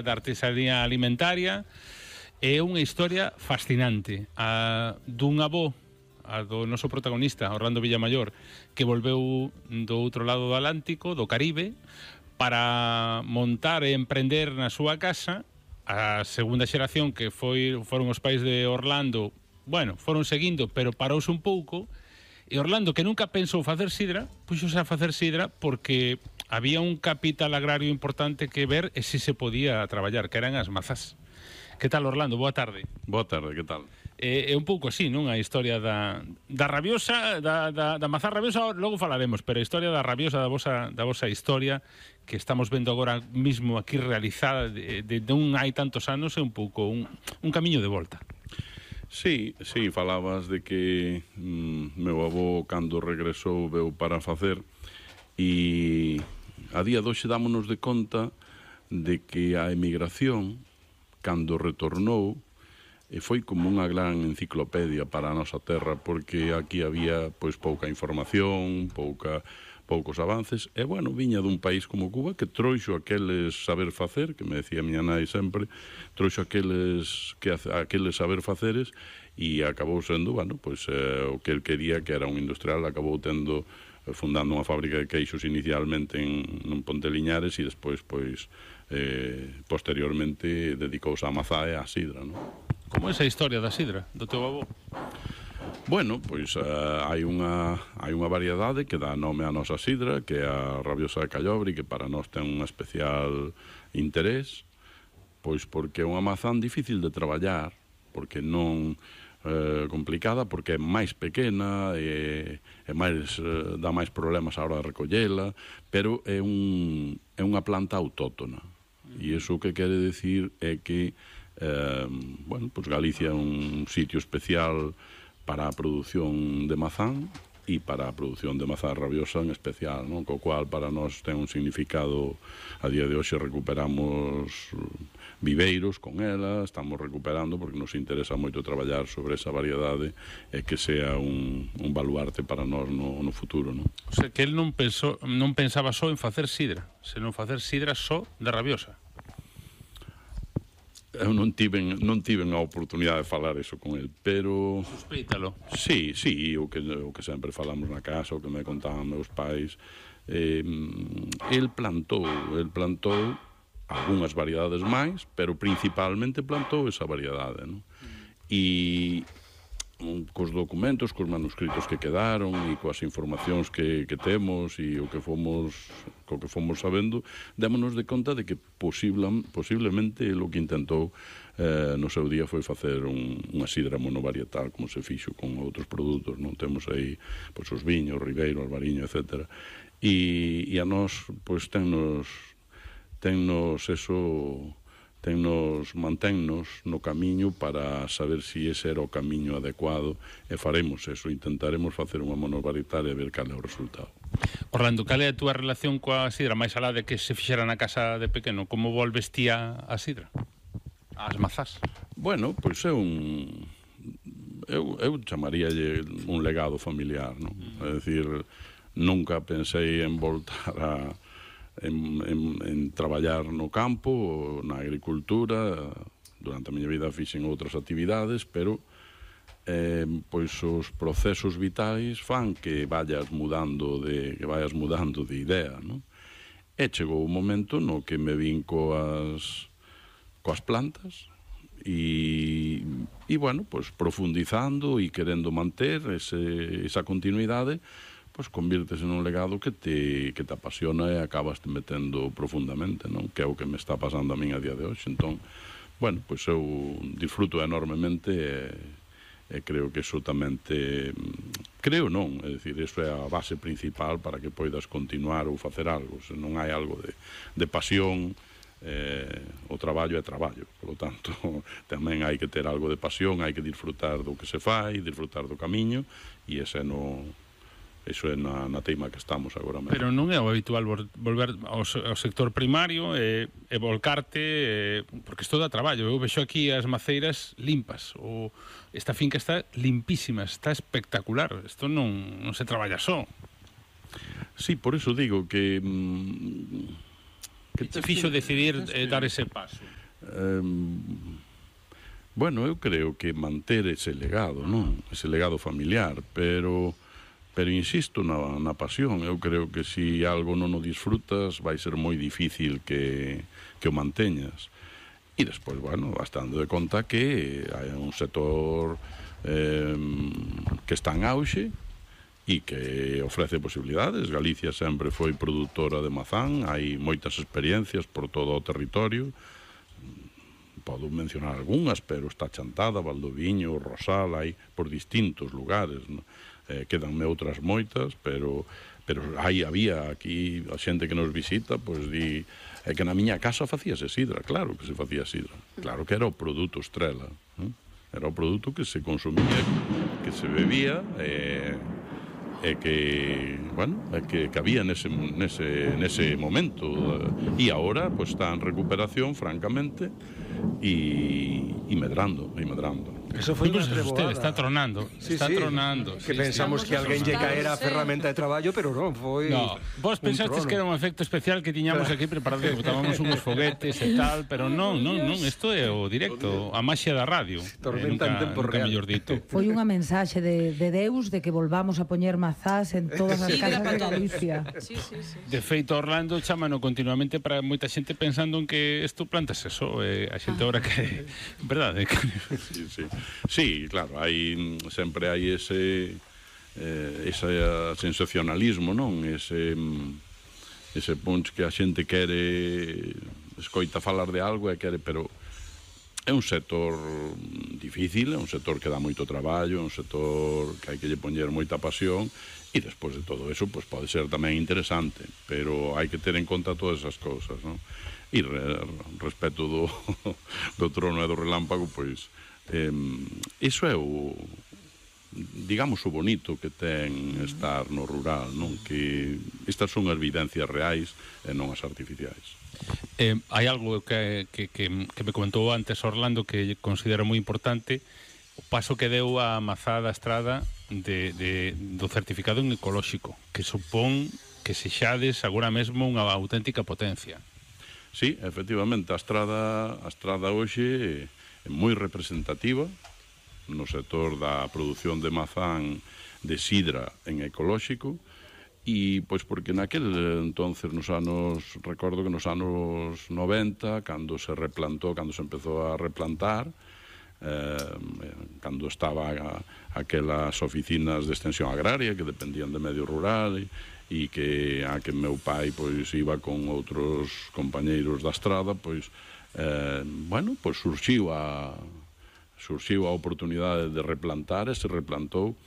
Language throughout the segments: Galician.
da artesanía alimentaria. É unha historia fascinante dun avó, do noso protagonista, Orlando Villamayor, que volveu do outro lado do Atlántico, do Caribe, para montar e emprender na súa casa. A segunda xeración, que foron os pais de Orlando, bueno, foron seguindo, pero parouse un pouco, e Orlando, que nunca pensou facer sidra, puxose a facer sidra porque había un capital agrario importante que ver e si se podía traballar, que eran as mazás. Que tal, Orlando? Boa tarde. Boa tarde, que tal? É un pouco así, non? A historia da rabiosa, da mazá rabiosa, logo falaremos, pero a historia da rabiosa, da vosa historia, que estamos vendo agora mismo aquí realizada de non hai tantos anos, é un pouco un camiño de volta. Sí, falabas de que meu avó, cando regresou, veu para facer, e a día de hoxe dámonos de conta de que a emigración, cando retornou, foi como unha gran enciclopedia para a nosa terra, porque aquí había pois pouca información, poucos avances, e bueno, viña dun país como Cuba que trouxo aqueles saber facer, que me decía miña nai sempre, trouxo aqueles saber faceres, e acabou sendo, bueno, pois o que el quería, que era un industrial, acabou fundando unha fábrica de queixos inicialmente en Ponte Liñares, e despois, pois, posteriormente dedicouse á mazá e á sidra, non? Como é esa historia da sidra, do teu avó? Bueno, pois hai unha variedade que dá nome á nosa sidra, que é a rabiosa de Callobre, que para nós ten un especial interés, pois porque é unha mazán difícil de traballar, porque non complicada, porque é máis pequena e dá máis problemas á hora de recollela, pero é unha planta autóctona, e iso que quere decir é que bueno, pois Galicia é un sitio especial para a produción de mazán e para a produción de mazá rabiosa en especial, non? Co cual para nós ten un significado. A día de hoxe recuperamos viveiros con ela, estamos recuperando porque nos interesa moito traballar sobre esa variedade e que sea un baluarte para nós no futuro, non? O sea, que el non pensaba só en facer sidra, senón facer sidra só de rabiosa. Eu non tiven a oportunidade de falar eso con el, pero... Suspeítalo. Sí, o que sempre falamos na casa, o que me contaban meus pais. El plantou algunhas variedades máis, pero principalmente plantou esa variedade, non? E cos documentos, cos manuscritos que quedaron e coas informacións que temos e o que fomos sabendo, démonos de conta de que posiblemente o que intentou no seu día foi facer unha sidra monovarietal, como se fixo con outros produtos, non? Temos aí pois, os viños, Ribeiro, Albariño, etc. E a nós pois tennos mantennos no camiño para saber se ese era o camiño adecuado, e faremos eso, intentaremos facer unha monovarietal e ver cal é o resultado. Orlando, cal é a túa relación coa sidra, máis alá de que se fixera na casa de pequeno? Como volves ti a sidra? As mazás? Bueno, pois é eu chamaríalle un legado familiar, non? É dicir, nunca pensei en voltar en traballar no campo, na agricultura. Durante a miña vida fixen outras actividades, pero pois os procesos vitais fan que vayas mudando de idea, non? E chegou un momento no que me vin coas plantas e bueno, pois profundizando e querendo manter esa continuidade, pois convírtese nun legado que te apasiona e acabas te metendo profundamente, non? Que é o que me está pasando a min a día de hoxe. Entón, bueno, pois eu disfruto enormemente e creo que iso tamén creo non, é dicir, iso é a base principal para que poidas continuar ou facer algo. Se non hai algo de pasión, o traballo é traballo, polo tanto tamén hai que ter algo de pasión, hai que disfrutar do que se fai, disfrutar do camiño, e ese iso é na teima que estamos agora mesmo. Pero non é o habitual volver ao sector primario e volcarte, porque isto dá traballo. Eu vexo aquí as maceiras limpas, esta finca está limpísima, está espectacular. Isto non se traballa só. Sí, por iso digo que Que te fixo decidir dar ese paso? Bueno, eu creo que manter ese legado, non? Ese legado familiar, pero insisto na pasión. Eu creo que se algo non o disfrutas vai ser moi difícil que o manteñas. E despois, bueno, bastante de conta que hai un sector que está en auxe e que ofrece posibilidades. Galicia sempre foi produtora de mazán, hai moitas experiencias por todo o territorio. Podo mencionar algunhas, pero está Chantada, Valdoviño, Rosal, hai por distintos lugares, no? Quedanme outras moitas, pero había aquí a xente que nos visita, pois di que na miña casa facíase sidra. Claro que se facía sidra, claro que era o produto estrela, era o produto que se consumía, que se bebía, que, bueno, que había nese momento, e agora pues, está en recuperación, francamente, e medrando. Eso foi unha treboada. Está tronando. Que pensamos que alguén lle caera a ferramenta de traballo, pero non, foi... No, vos pensastes que era un efecto especial que tiñamos aquí preparado, que botábamos uns foguetes e tal, pero non, isto é o directo, a maxia da radio. Tormenta en tempo real. Foi unha mensaxe de Deus de que volvamos a poñer mazás en todas as casas de Galicia. De feito, Orlando chámano continuamente para moita xente pensando en que isto plantas eso, a xente ahora que... Verdade? Sí, claro, sempre hai ese sensacionalismo, non? Ese punch que a xente quere escoita falar de algo e quere, pero é un sector difícil, é un sector que dá moito traballo, é un sector que hai que lle poñer moita pasión, e despois de todo eso, pues, pode ser tamén interesante, pero hai que ter en conta todas esas cousas, non? E respecto do trono e do relámpago, pois iso é o, digamos, o bonito que ten estar no rural, non? Que estas son as evidencias reais e non as artificiais. Hai algo que me comentou antes Orlando que considero moi importante, o paso que deu a Mazada Estrada do certificado en ecolóxico, que supón que sexades agora mesmo unha auténtica potencia. Sí, efectivamente, a Estrada hoxe é moi representativa no sector da produción de mazán de sidra en ecolóxico, e pois porque naquel entonces recordo que nos anos 90, cando se empezou a replantar, cando estaba aquelas oficinas de extensión agraria que dependían de medio rural e que a que meu pai pois iba con outros compañeiros da Estrada, pois bueno, pois surxiu a oportunidade de replantar e se replantou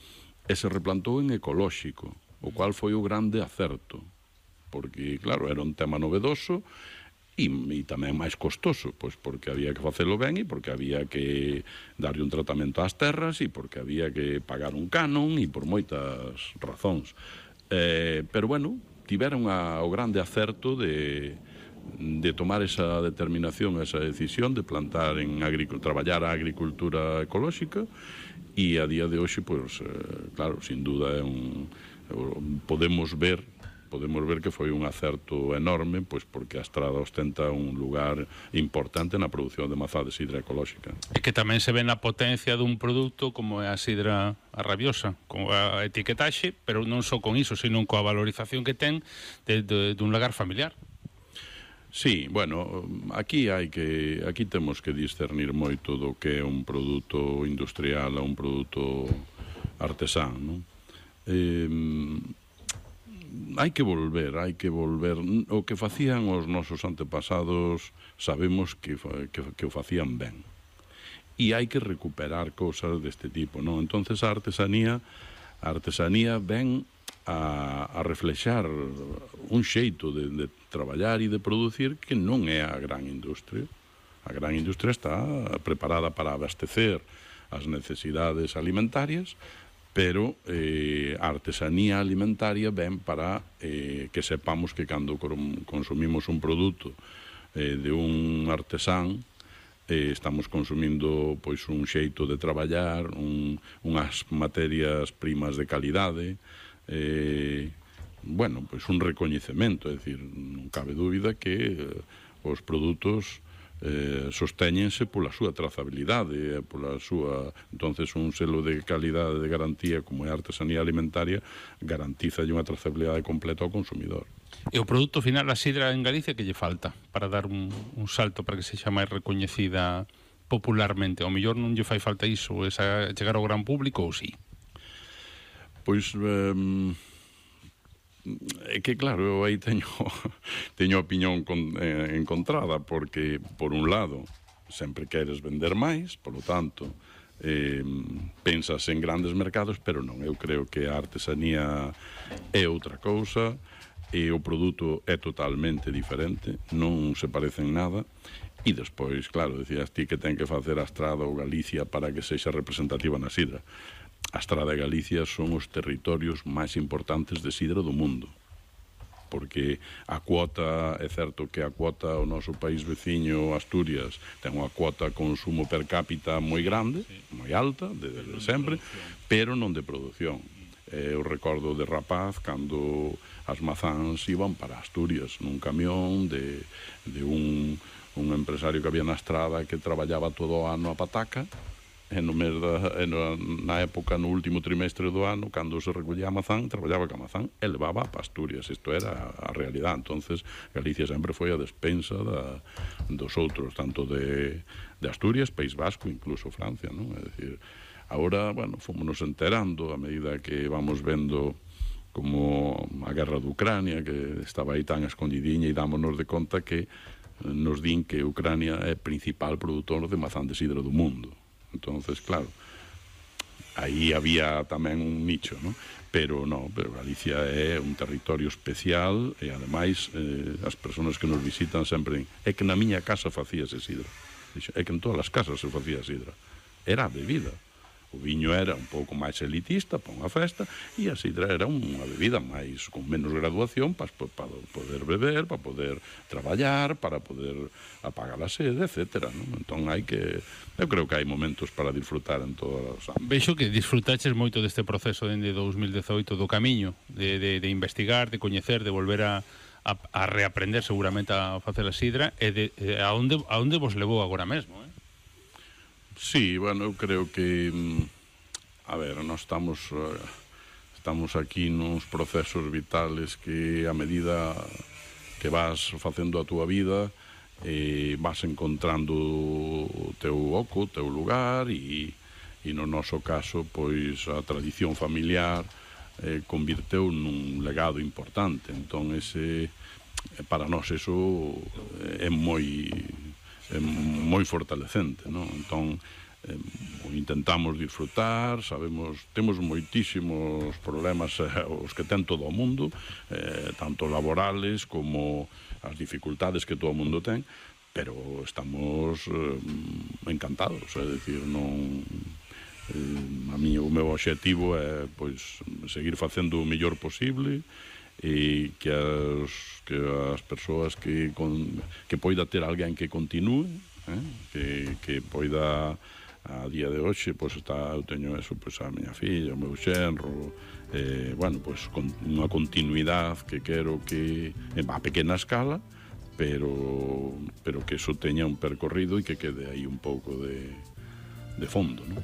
en ecolóxico, o cual foi o grande acerto, porque, claro, era un tema novedoso e tamén máis costoso, pois porque había que facelo ben e porque había que darlle un tratamento ás terras e porque había que pagar un canon e por moitas razóns. Pero, bueno, tiveron o grande acerto de tomar esa determinación, esa decisión de plantar traballar a agricultura ecolóxica, e a día de hoxe, pois, claro, sin duda podemos ver que foi un acerto enorme, pois porque a Estrada ostenta un lugar importante na produción de mazá de sidra ecolóxica. E que tamén se ve na potencia dun produto como é a sidra arrabiosa, con a etiquetaxe, pero non só con iso, sino coa valorización que ten dun lagar familiar. Sí, bueno, aquí temos que discernir moito do que é un produto industrial a un produto artesán, non? Hai que volver. O que facían os nosos antepasados sabemos que o facían ben. E hai que recuperar cousas deste tipo, non? Entonces a artesanía ven a reflexar un xeito de traballar e de producir que non é a gran industria. A gran industria está preparada para abastecer as necesidades alimentarias, pero a artesanía alimentaria ven para que sepamos que cando consumimos un produto de un artesán, estamos consumindo pois un xeito de traballar, unhas materias primas de calidade, bueno, pois un recoñecemento, é dicir, non cabe dúbida que os produtos sostéñense pola súa trazabilidade, pola súa... Entonces, un selo de calidade de garantía como é a artesanía alimentaria garantiza unha trazabilidade completa ao consumidor. E o produto final, a sidra en Galicia, que lle falta para dar un salto para que sexa máis recoñecida popularmente? Ao mellor non lle fai falta iso, esa chegar ao gran público, ou sí? Pois... é que claro, eu aí teño opinión encontrada, porque por un lado sempre queres vender máis, polo tanto pensas en grandes mercados, pero non, eu creo que a artesanía é outra cousa e o produto é totalmente diferente, non se parecen nada. E despois, claro, decías ti que ten que facer a Estrada ou Galicia para que sexa representativa na sidra. A Estrada e Galicia son os territorios máis importantes de sidra do mundo, porque a cuota, é certo que a cuota o noso país veciño, Asturias, ten unha cuota de consumo per cápita moi grande, moi alta, de sempre, pero non de produción. Eu recordo de rapaz cando as mazáns iban para Asturias nun camión de un empresario que había na Estrada que traballaba todo o ano a pataca, e na época, no último trimestre do ano, cando se recollía a mazán, traballaba ca mazán e levaba a Asturias. Isto era a realidad. Entonces, Galicia sempre foi a despensa dos outros, tanto de Asturias, País Vasco, incluso Francia, non? É dicir, agora, bueno, fomos enterando a medida que vamos vendo como a guerra de Ucrania, que estaba aí tan escondidiña, e dámonos de conta que nos din que Ucrania é principal produtor de mazán de sidra do mundo. Entonces, claro, aí había tamén un nicho, ¿no? Pero Galicia é un territorio especial e, ademais, as persoas que nos visitan sempre é que na miña casa facíase sidra. É que en todas as casas se facía sidra. Era a bebida. O viño era un pouco máis elitista para unha festa e a sidra era unha bebida máis con menos graduación para poder beber, para poder traballar, para poder apagar a sede, etc. Entón eu creo que hai momentos para disfrutar en todas as ámbitos. Vexo que disfrutaches moito deste proceso dende 2018 do camiño, de investigar, de coñecer, de volver a reaprender seguramente a facer a sidra, e a onde vos levou agora mesmo, Sí, bueno, eu creo que a ver, nós estamos aquí nuns procesos vitales que a medida que vas facendo a túa vida vas encontrando o teu oco, o teu lugar, e no noso caso, pois a tradición familiar convirteu nun legado importante. Entón, para nós eso é moi fortalecente, non? Entón, intentamos disfrutar, temos moitísimos problemas os que ten todo o mundo, tanto laborales como as dificultades que todo o mundo ten, pero estamos encantados, é dicir, non... o meu obxectivo é, pois, seguir facendo o mellor posible, e que as persoas que poida ter alguén que continúe, que poida a día de hoxe, pois eu teño eso, pois a miña filla, o meu xenro, bueno, pois unha continuidade que quero que a pequena escala, pero que eso teña un percorrido e que quede aí un pouco de fondo, non?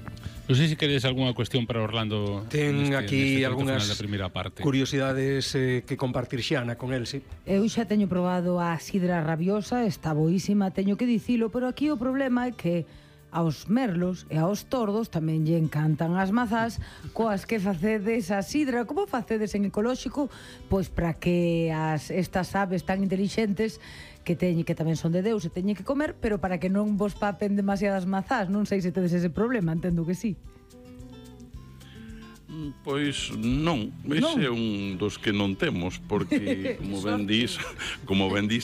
Non sei se queres algunha cuestión para Orlando. Ten aquí algunhas parte. curiosidades que compartir Xana con el, sí. Eu xa teño probado a sidra rabiosa, está boísima, teño que dicilo, pero aquí o problema é que aos merlos e aos tordos tamén lle encantan as mazás coas que facedes a sidra. Como facedes en ecolóxico? Pois para que estas aves tan intelixentes que tamén son de Deus e teñen que comer, pero para que non vos papen demasiadas mazás. Non sei se tedes ese problema, entendo que sí. Pois non, ese é un dos que non temos, porque como ben dís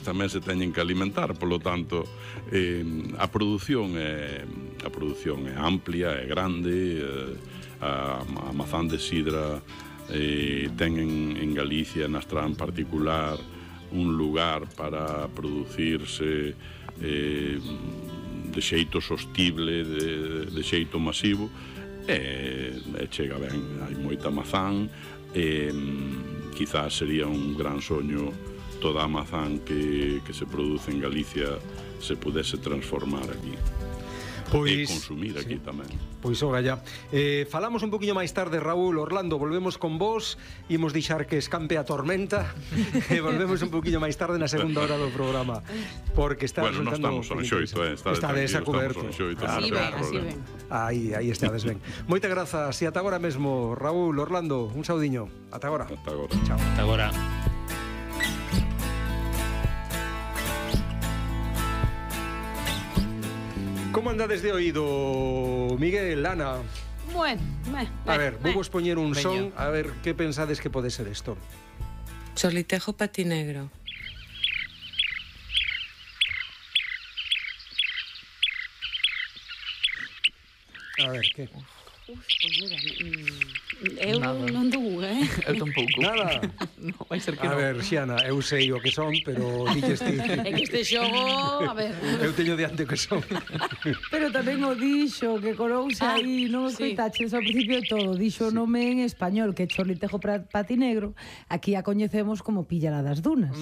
tamén se teñen que alimentar, polo tanto a produción é amplia, é grande, a mazán de sidra ten en Galicia, na Estrada en particular, un lugar para producirse de xeito sostible, de xeito masivo, e chega ben, hai moita mazán, quizás sería un gran soño toda a mazán que se produce en Galicia se pudese transformar aquí. E consumir aquí tamén. Pois ora ya. Falamos un poquinho máis tarde, Raúl, Orlando, volvemos con vos, imos deixar que escampe a tormenta e volvemos un poquinho máis tarde na segunda hora do programa, porque está bueno, non estamos ao xoito, estades a coberto. Así ven. Aí estades ben. Moitas grazas e ata agora mesmo, Raúl, Orlando, un saudiño. Ata agora. Ata agora. Chao. Ata agora. Como andades de oído, Miguel, Ana? Bueno, a ver, vou vos poñer un son, a ver que pensades que pode ser isto. Xorlitejo patinegro. A ver, que? Pois mira, eu non dou, Eu tampouco. Nada. Non, vai ser que A non. ver, Xiana, eu sei o que son, pero dices ti. É que este xogo, a ver. Eu teño diante o que son. Pero tamén o dixo, que colouse aí, non os sí. coitaches ao principio de todo. Dixo o nome en español, que é Xorlitejo patinegro. Aquí a coñecemos como Píllara das Dunas.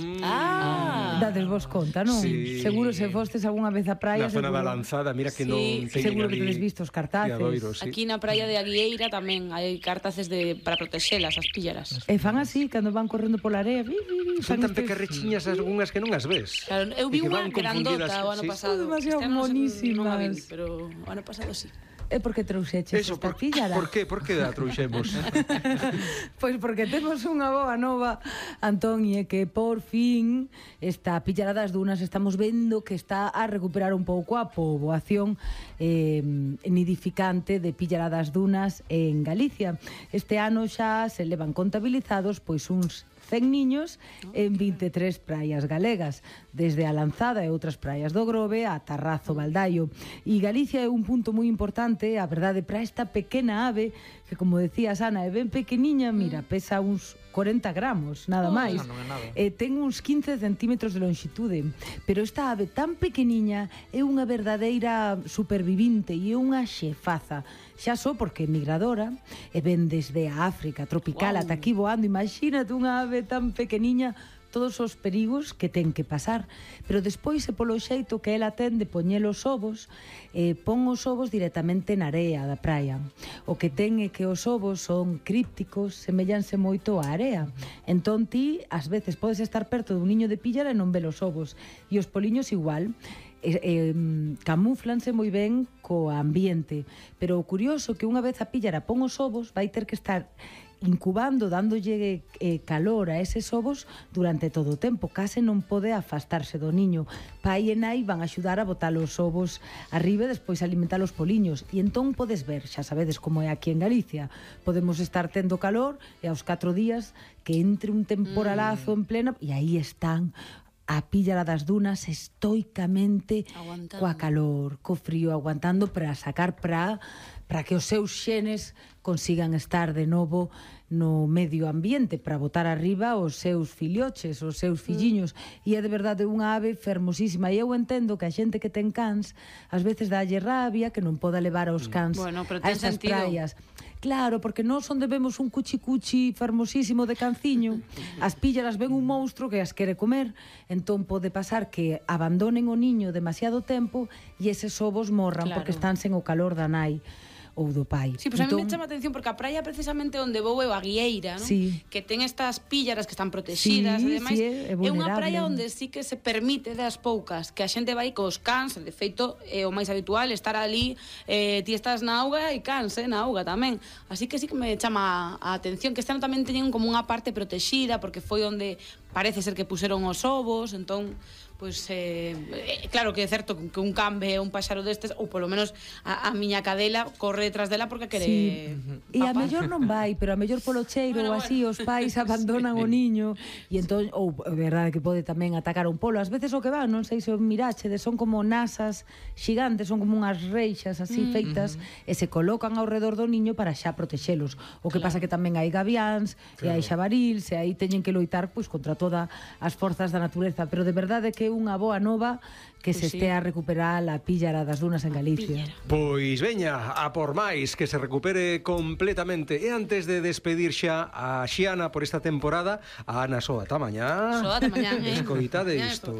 Dades vos conta, non? Sí. Seguro se fostes algunha vez a praia. Na zona da seguro- Lanzada, mira que Sí. non teñen Seguro que ali tedes visto os cartaces. fiadoiros, sí. Aquí na praia de Aguieira tamén hai cartaces para protexelas as píllaras. E fan así, cando van correndo pola area. Son fan tan estes- pequerrechiñas algunhas que non as ves. Claro, eu vi E que unha van confundidas, grandota o ano sí. pasado. Son demasiado Este ano non a vi, monísimas. pero o ano pasado sí. É porque trouxeches Eso, esta píllara. por que a trouxemos? Pois porque temos unha boa nova, Antón, e é que por fin esta Píllara das Dunas estamos vendo que está a recuperar un pouco a poboación nidificante de Píllara das Dunas en Galicia. Este ano xa se levan contabilizados pois uns 100 niños en 23 praias galegas, desde a Lanzada e outras praias do Grove a Tarrazo, Baldaio. E Galicia é un punto moi importante, a verdade, para esta pequena ave que, como decías, Ana, é ben pequeniña, mira, pesa uns 40 gramos, nada máis. Non é nada. Ten uns 15 centímetros de longitude, pero esta ave tan pequeniña é unha verdadeira supervivinte e é unha xefaza. Xa só porque é migradora e ven desde a África tropical ata aquí voando. Imagínate unha ave tan pequeniña, todos os perigos que ten que pasar, pero despois é polo xeito que ela ten de poñer os ovos, pon os ovos directamente na area da praia. O que ten é que os ovos son crípticos, seméllanse moito á area. Entón ti, ás veces, podes estar perto dun niño de píllara e non ver os ovos, e os poliños igual. Camúflanse moi ben co ambiente, pero o curioso que unha vez a píllara pon os ovos, vai ter que estar incubando, dándolle calor a eses ovos durante todo o tempo. Case non pode afastarse do niño. Pai e nai van a axudar a botar os ovos arriba e despois alimentar os poliños. E entón podes ver, xa sabedes como é aquí en Galicia, podemos estar tendo calor e aos 4 días que entre un temporalazo en plena e aí están a Píllara das Dunas estoicamente Aguantando. coa calor, co frío, aguantando para sacar para que os seus xenes consigan estar de novo no medio ambiente, para botar arriba os seus filloches, os seus filliños. E é de verdade unha ave fermosísima. E eu entendo que a xente que ten cans ás veces dálle rabia que non poda levar aos cans Bueno, pero a ten estas sentido. praias. Claro, porque nós onde vemos un cuchi-cuchi fermosísimo de canciño, as píllaras ven un monstro que as quere comer, entón pode pasar que abandonen o niño demasiado tempo e eses ovos morran Claro. porque están sen o calor da nai ou do pai. Sí, pues a mí me chama a atención porque a praia precisamente onde vou é o Aguieira, ¿no? Sí. Que ten estas píllaras que están protegidas Sí, e demais. sí, é É unha vulnerable. praia onde sí que se permite das poucas que a xente vai cos cans, de feito é o máis habitual estar ali, ti estás na auga e cans, na auga tamén. Así que sí que me chama a atención que este ano tamén teñen como unha parte protexida porque foi onde parece ser que puseron os ovos, entón pois claro que é certo que un can ve un paxaro destes ou polo menos a miña cadela corre detrás dela porque quere E a papá. mellor non vai, pero a mellor polo cheiro Bueno, ou así os pais abandonan o niño e entón, ou é verdade que pode tamén atacar un polo. Ás veces o que van, non sei se o mirachedes, son como nasas xigantes, son como unhas reixas así feitas e se colocan ao redor do niño para xa protexelos. O que pasa que tamén hai gaviáns e hai xabarils e aí teñen que loitar pois contra todas as forzas da natureza, pero de verdade que unha boa nova que se Pois sí. estea a recuperar a píllara das dunas en Galicia. Pois veña, a por máis, que se recupere completamente. E antes de despedir xa a Xiana por esta temporada, a Ana Soa, ata mañá. Soa, ata mañá, Escoitade Mañá isto.